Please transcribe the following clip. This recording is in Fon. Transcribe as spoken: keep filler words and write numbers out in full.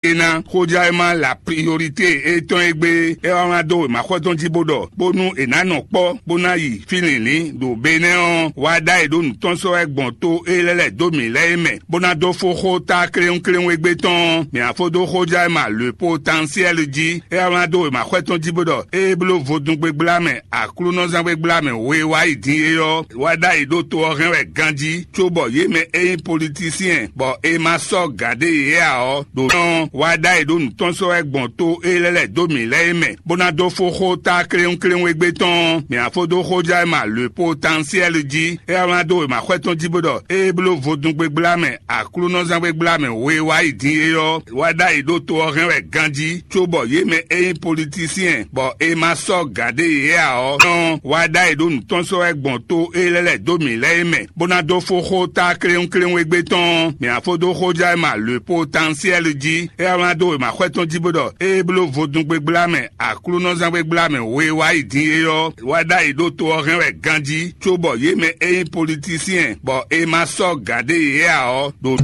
é ná xójá e má la priorité étɔn e gbé é wá wlán dó wěmaxɔ́ tɔn jí bó ɖɔ bónú è nǎ nɔ kpɔ́ bó ná yi fí lǐnlín ɖo Benɛ́ ɔ́, wá ɖá e ɖó nǔ tɔn sɔ́ wɛ gbɔn tó é lɛ́ lɛ̌ dó mǐ lɛ́ɛ é mɛ, bó ná dó fó xó tá kléwúnkléwún égbé tɔn ɔ́, mǐ ná fó dó xójá e ma le potansiɛ́l jí é wá wlán dó wěmaxɔ́ tɔn jí bó ɖɔ é bló vodúngbégbla mɛ Aklúnɔzán gbégbla mɛ we wá yi din é ɔ́, wá ɖ'ayǐ ɖó to ɔ́ hɛn wɛ ganjí, cóbɔ yě mɛ e nyí politisiyɛn bɔ è ma sɔ́ gǎn ɖé yě ǎ ɔ́, ɖo nɔ́ wá ɖ'ayǐ ɖó nǔ tɔn sɔ́ wɛ gbɔn tó é lɛ́ lɛ̌ dó mǐ lɛ́ɛ é mɛ, bó ná dó fó xó tá kléwúnkléwún égbé tɔn ɔ́, mǐ ná fó dó xójá e ma le potansiɛ́l jí é wá wlán dó wěma xwɛ tɔn jí bó ɖɔ é bló vodúngbégbla mɛ Aklúnɔzán gbégbla mɛ we wá yi din é ɔ́, wá ɖ'ayǐ ɖó to ɔ́ hɛn wɛ ganjí, cóbɔ yě mɛ e nyí politisiyɛn bɔ è ma sɔ́ gǎn ɖé yě ǎ ɔ́, nɔ́ wá ɖ'ayǐ ɖó nǔ tɔn sɔ́ wɛ gbɔn tó é lɛ́ lɛ̌ dó mǐ lɛ́ɛ é mɛ, bó ná dó fó xó tá kléwúnkléwún égbé tɔn ɔ́, mǐ ná fó dó xójá e ma le potansiɛ́l jí é wá wlán dó wěma xwɛ tɔn jí bó ɖɔ é bló vodúngbégbla mɛ Aklúnɔzán gbégbla mɛ we wá yi din é ɔ́, wá ɖ'ayǐ ɖó to ɔ́ hɛn wɛ ganjí, cóbɔ yě mɛ e nyí politisiyɛn bɔ è ma sɔ́ gǎn ɖé yě ǎ ɔ́, ɖo